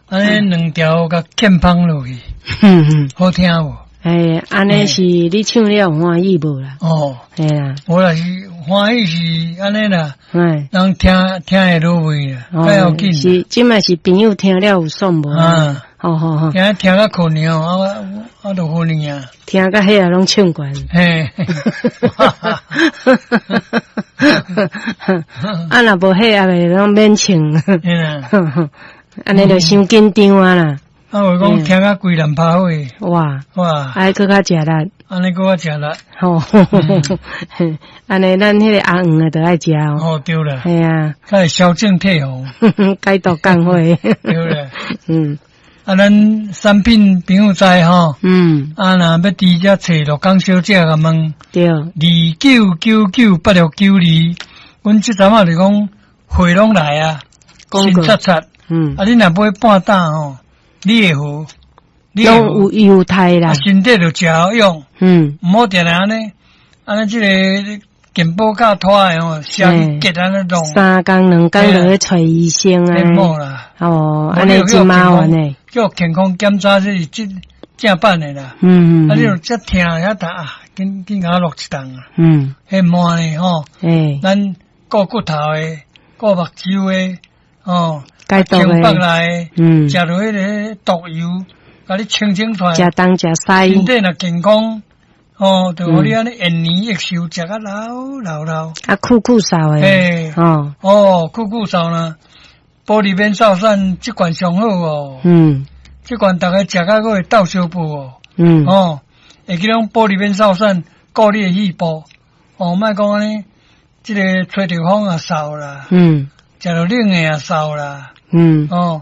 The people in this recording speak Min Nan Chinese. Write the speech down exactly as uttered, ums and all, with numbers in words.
按呢兩條共欠芳落去，嗯，好聽無？欸，按呢是你唱了有歡喜無啦？哦，嘿啦，無啦，是歡喜是按呢啦，欸，人聽聽會落位啦，較要緊。是，這擺是朋友聽了有爽無？啊，好好好，聽聽甲困去吼，啊啊就昏去啊。聽甲彼个攏唱懸。嘿，啊，若無彼个，攏免唱。嘿啦，按呢就傷緊張啊啦。啊，有講聽甲規澹拍火。哇哇！愛閣較食力。按呢閣較食力。吼，按呢咱彼个阿黃的就愛食哦。哦，對啦。嘿啊。才會消腫退紅。解毒降火。對啦。嗯。啊，咱產品朋友知吼。嗯。啊，若欲佇遮揣鹿港小姐共問。對。二九九九八六九二，阮這陣仔就講貨攏來啊，新刷刷。嗯。啊，你若買半擔吼，你會好，攏有猶太啦，身體就誠好用。嗯，毋好定定按呢，按呢這個健保卡拖的吼，寫去結按呢弄。三工兩工就去揣醫生啊。無啦。哦，按呢真麻煩的。叫健康檢查這是正正版的啦。嗯嗯。啊，你若遮疼遐痛啊，緊緊共我落一頓啊。嗯。彼滿的吼。欸。咱顧骨頭的，顧目睭的，哦。解毒的，嗯，食落彼个毒油，共你清清出來。食東食西，身體若健康，哦，就予你按呢延年益壽，食甲老老老。啊，酷酷瘦的，欸，哦，哦，酷酷瘦呢，玻璃免瘦散，這罐上好哦。嗯，這罐逐家食甲閣會鬥相報哦。嗯，哦，會記講玻璃免瘦散，顧你的肺部，哦，莫講按呢，這个吹著風也瘦啦。嗯，食著冷的也瘦啦。嗯，哦，